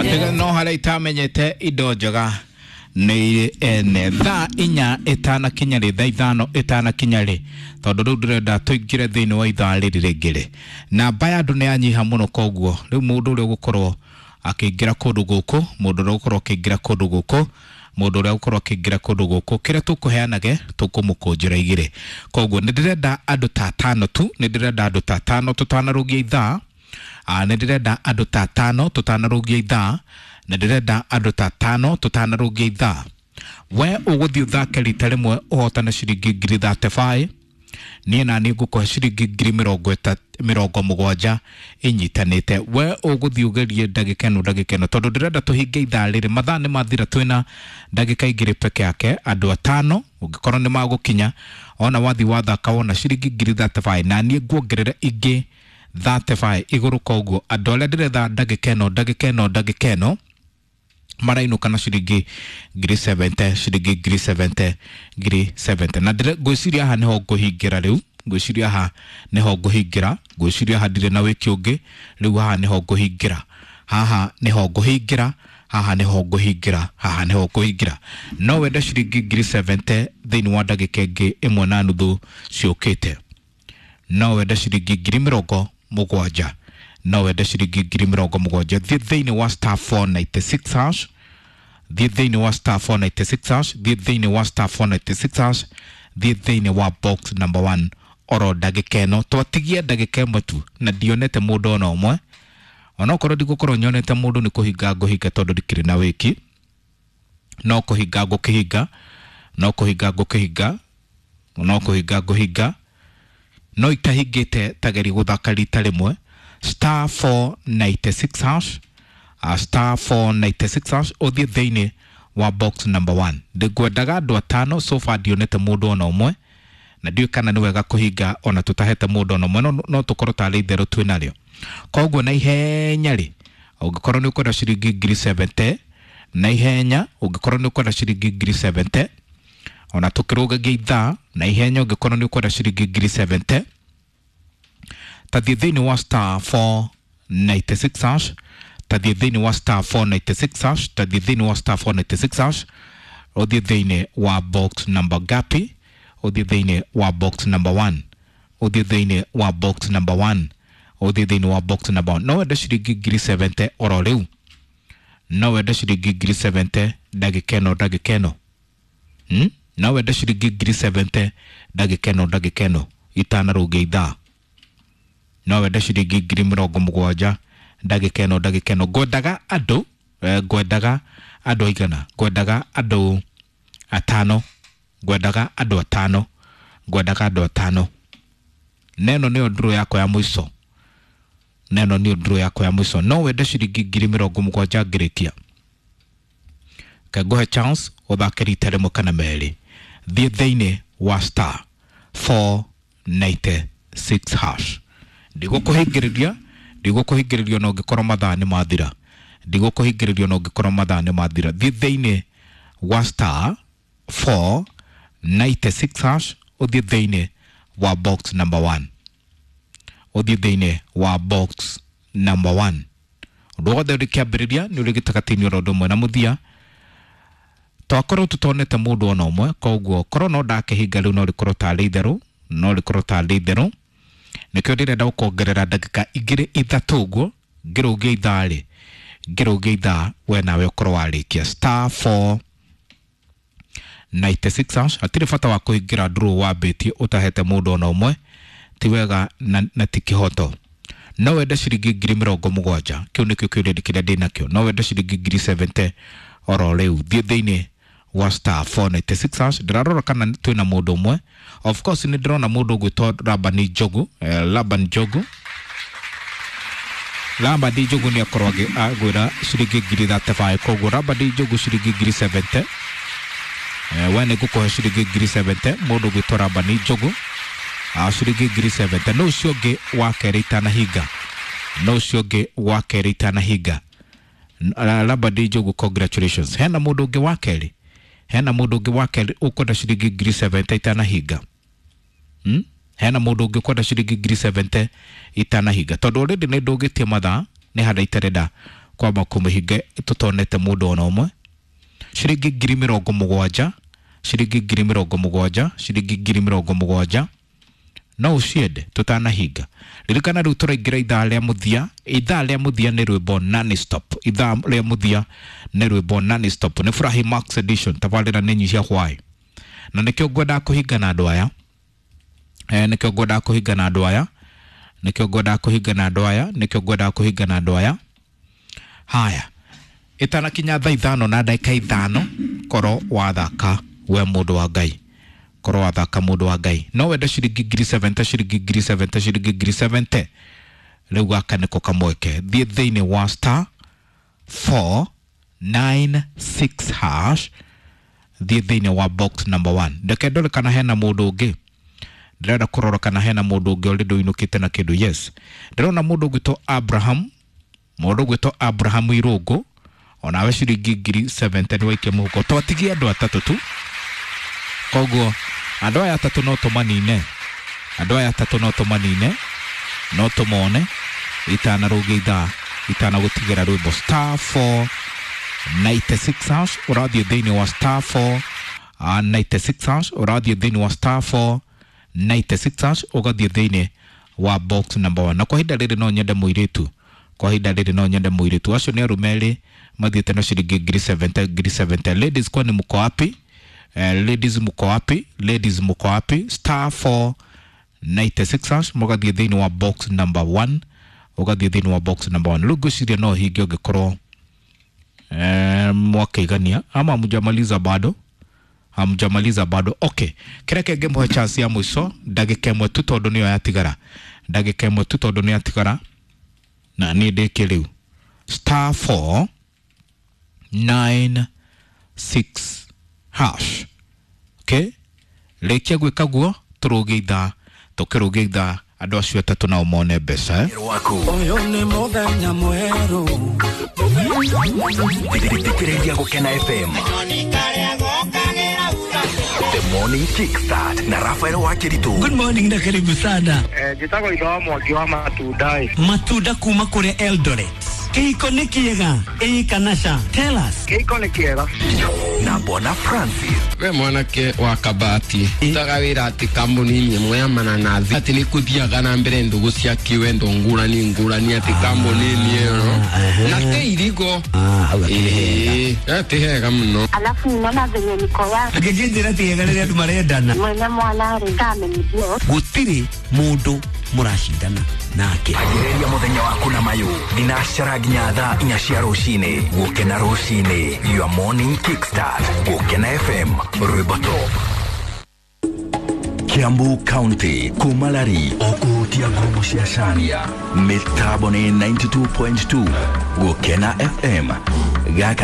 Tiga no harĩa itamenyete indo njega nĩ irĩ ene. Thaa 4 ĩtanakinya rĩ, thaa 5 ĩtanakinya rĩ, tondũ rĩu ndĩrenda tũingĩre thĩinĩ wa ithaa rĩrĩ rĩngĩ rĩ, namba ya andũ nĩ yanyiha mũno. Koguo rĩu mũndũ ũrĩa ũgũkorwo akĩingĩra kũndũ gũkũ, mũndũ ũrĩa ũgũkorwo akĩingĩra kũndũ gũkũ, mũndũ ũrĩa ũgũkorwo akĩingĩra kũndũ gũkũ, kĩrĩa tũkũheanage tũkũmũkũnjĩra igĩrĩ. Koguo nĩ ndĩrenda andũ ta atano tu, nĩ ndĩrenda andũ ta atano tũtanarũgia ithaa. Nĩ ndĩrenda andũ ta atano tũtanarũgia ithaa, nĩ ndĩrenda andũ ta atano tũtanarũgia ithaa. We ũgũthiĩ ũthake rita rĩmwe ũhotane ciringi 35,000, niĩ na niĩ ngũkũhe ciringi 70,000 inyitanĩte. We ũgũthiĩ ũgerie ndagĩka ĩno, ndagĩka ĩno, tondũ ndĩrenda tũhinge ithaa rĩrĩ, mathaa nĩ mathira, twĩna ndagĩka 2 peke yake. Andũ atano ũngĩkorwo nĩ magũkinya, ona wathiĩ wathaka wona ciringi 35,000, na niĩ nguongerera ingĩ 35 igũrũ. Koguo andũ arĩa ndĩretha ndagĩka ĩno, ndagĩka ĩno, ndagĩka ĩno marainũka na ciringi 70,000, ciringi 70,000, 70,000. Na ngwĩciria haha nĩho ngũhingĩra rĩu, ngwĩciria haha nĩho ngũhingĩra, ngwĩciria haha ndirĩ na wĩki ũngĩ rĩu, haha nĩho ngũhingĩra, haha nĩho ngũhingĩra, haha nĩho ngũhingĩra, haha nĩho ngũhingĩra. No wende ciringi 70,000 thĩinĩ wa ndagĩka ĩngĩ 1.5 ciũkĩte. No wende ciringi 70,000, no wende ciringi 70,000. Thiĩ thĩinĩ wa *496#, thiĩ thĩinĩ wa *496#, thiĩ thĩinĩ wa *496#, thiĩ thĩinĩ wa box number 1 oro ndagĩka ĩno. Twatigia ndagĩka 1 tu na ndionete mũndũ ona ũmwe. Onokorwo ndigũkorwo nyonete mũndũ, nĩ kũhinga ngũhinga, tondũ ndikĩrĩ na wĩki. No kũhinga ngũkĩhinga, no kũhinga ngũkĩhinga, no kũhinga ngũhinga, no itahingĩte. Tageri gũthaka rita rĩmwe *496#, *496# ũthiĩ thĩinĩ wa box number 1. Ndĩngwendaga andũ atano, so far ndionete mũndũ ona ũmwe, na ndiũĩ kana nĩ wega kũhinga ona tũtahete mũndũ ona ũmwe, no tũkorwo tarĩ itherũ twĩ narĩo. Koguo na ihenya rĩ, ũngĩkorwo nĩ ũkwenda ciringi 70,000, na ihenya ũngĩkorwo nĩ ũkwenda ciringi 70,000, ona tũkĩrũgagia ithaa, na ihenya ũngĩkorwo nĩ ũkwenda ciringi 70,000, tathiĩ thĩinĩ wa *496#, tathiĩ thĩinĩ wa *496#, tathiĩ thĩinĩ wa *496#, ũthiĩ thĩinĩ wa box number gapi, ũthiĩ thĩinĩ wa box number 1, ũthiĩ thĩinĩ wa box number 1, ũthiĩ thĩinĩ wa box number 1. No wende ciringi 70,000 oro rĩu, no wende ciringi 70,000 ndagĩka ĩno, ndagĩka ĩno. No wende ciringi 70,000 ndagĩka ĩno, ndagĩka ĩno itanarũngia ithaa. No wende ciringi 70,000 ndagĩka ĩno, ndagĩka ĩno. Ngwendaga andũ, ngwendaga andũ aigana? Ngwendaga andũ atano, ngwendaga andũ atano, ngwendaga andũ atano. Neno nĩyo ndũrũ yakwa ya mũico, neno nĩyo ndũrũ yakwa ya mũico. No wende ciringi 70,000 ngĩrĩkia. Kengũhe chance ũthake rita rĩmwe kana merĩ. Thiĩ thĩinĩ wa *496#. Ndigũkũhingĩrĩria, ndigũkũhingĩrĩria ona ũngĩkorwo mathaa nĩ mathira, ndigũkũhingĩrĩria ona ũngĩkorwo mathaa nĩ mathira. Thiĩ thĩinĩ wa *496# ũthiĩ thĩinĩ wa box number 1, ũthiĩ thĩinĩ wa box number 1. Ũndũ wothe ũrĩ kĩambĩrĩria nĩ ũrĩ gĩtagatĩ-inĩ oro ũndũ ũmwe na mũthia. Twakorwo tũtonete mũndũ ona ũmwe, koguo korwo no ndakĩhinga rĩu, no rĩkorwo tarĩ itherũ, no rĩkorwo tarĩ itherũ. Nĩkĩo ndĩrenda gũkuongerera ndagĩka 2 3 ũguo ngĩrũgia ithaa rĩ, ngĩrũgia ithaa we nawe ũkorwo warĩkia *496#. Hatirĩ bata wa kũhingĩra ndũrũ wambĩtie ũtahete mũndũ ona ũmwe, ti wega na ti kĩhoto. No wende ciringi 70,000, kĩu nĩkĩo kĩũria kĩrĩa ndĩnakĩo. No wende ciringi 70,000 oro rĩu, thiĩ thĩinĩ wa *496#. Ndĩrarora kana twĩna mũndũ ũmwe. Of course nĩ ndĩrona mũndũ ũgwĩtwo Labani Njogu, Laban Njogu, Labani Njogu nĩ akorwo agwĩra ciringi 35,000. Koguo Labani Njogu ciringi 70,000, we nĩ ngũkũhe ciringi 70,000. Mũndũ ũgwĩtwo Labani Njogu ciringi 70,000. No ũcio ũngĩ wa kerĩ itanahinga, no ũcio ũngĩ wa kerĩ itanahinga. Labani Njogu, congratulations. Hena mũndũ ũngĩ wa kerĩ, hena mũndũ ũngĩ wa kerĩ ũkwenda ciringi 70,000 itanahinga? Hena mũndũ ũngĩ ũkwenda ciringi 70,000 itanahinga? Tondũ already nĩ ndũgĩtie mathaa, nĩ harĩa itarenda. Kwamba kũmĩhinga tũtonete mũndũ ona ũmwe. Ciringi 70,000, ciringi 70,000, ciringi 70,000 no ũciende tũtanahinga. Ririkana rĩu tũraingĩra ithaa rĩa mũthia. Ithaa rĩa mũthia nĩ rwĩmbo non-stop. Ithaa rĩa mũthia nĩ rwĩmbo non-stop, nĩ Furahi Max Edition. Tabarĩra nĩ nyihia hwaĩ, na nĩkĩo ngwendaga kũhinga na andũ aya. Nĩkĩo ngwendaga kũhinga na andũ aya, nĩkĩo ngwendaga kũhinga na andũ aya, nĩkĩo ngwendaga kũhinga na andũ aya. Haya, ĩtanakinya thaa 5:05, korwo wathaka we mũndũ wa Ngai, korwo wathaka mũndũ wa Ngai, no wende ciringi 70,000, ciringi 70,000, ciringi 70,000. Rĩu gaka nĩko kamweke. Thiĩ thĩinĩ wa star 496 hash, thiĩ thĩinĩ wa box number 1. Ndeke ndore kana hena mũndũ ũngĩ. Ndĩrenda kũrora kana hena mũndũ ũngĩ already ũinũkĩte na kĩndũ. Yes, ndĩrona mũndũ ũgwĩtwo Abraham, mũndũ ũgwĩtwo Abraham Irũngũ, onawe ciringi 70,000 nĩ waikia mũhuko. Twatigie andũ atatũ tu, koguo andũ aya atatũ no tũmanine, andũ aya atatũ no tũmanine, no tũmone itanarũgia ithaa, itanagũtigĩra rwĩmbo. Star 496 hash, ũrathiĩ thĩinĩ wa star 496 hash, ũrathiĩ thĩinĩ wa star 496 hash, ũgathiĩ thĩinĩ wa box number 1. Na kwa ihinda rĩrĩ no nyende mũirĩtu, kwa ihinda rĩrĩ no nyende mũirĩtu. Acio nĩ arũme erĩ mathiĩte na ciringi 70,000, 70,000. Ladies, kwani mko wapi? Ladies mko wapi? Ladies mko wapi? Star 496 hash, mũgathiĩ thĩinĩ wa box number 1, ũgathiĩ thĩinĩ wa box number 1. Rĩu ngwĩciria no hinge ũngĩkorwo mwakaigania ama hamjamaliza bado, hamjamaliza bado. Okay, kĩrĩa kĩngĩmũhe chance ya mũico ndagĩka ĩmwe tu, tondũ nĩyo yatigara, ndagĩka ĩmwe tu tondũ nĩyo yatigara, na niĩ ndĩke rĩu. Star 496 hash. Okay, rĩkia gwĩka guo tũrũgie ithaa, tũkĩrũgie ithaa andũ acio atatũ nao mone mbeca. Ũyũ nĩ mũthenya mwerũ. Thikĩrĩria Gũkena FM. The Morning Kickstart na Rafael Wakiritu. Good morning na karibu sana. Njĩtagwo itho wa Mwangi wa matunda. Matunda kuma kũrĩa Eldoret. Kĩhiko nĩ kĩega ĩĩ kana ca? Tell us. Kĩhiko nĩ kĩega. Na Bwana Francis. We mwanake wa kabati utaga wĩra atĩ kambuni-inĩ ĩmwe ya mananathi atĩ nĩ kũthiaga na mbere ndũgũ cia kĩwendo ngũrani ngũrani atĩ kambuni-inĩ ĩyo na te irigo. Hau akĩrĩ hega. Ĩĩ, ti hega mũno. Alafu ninaona venye niko yake Angĩnjĩra ti hega rĩrĩa andũ marendana. Mwene mwana rĩ kamenithio. Gũtirĩ mũndũ mũracindana nake. Ambĩrĩria mũthenya waku na mayũ thinacara nginya thaa 4 cia rũcinĩ. Gũkena rũcinĩ, your morning kickstart. Gũkena FM, rwĩmbo top. Kiambu County kumalari okuhutia ngumo cia Caria. Mĩtambo nĩ 92.2 Gũkena FM. Gaka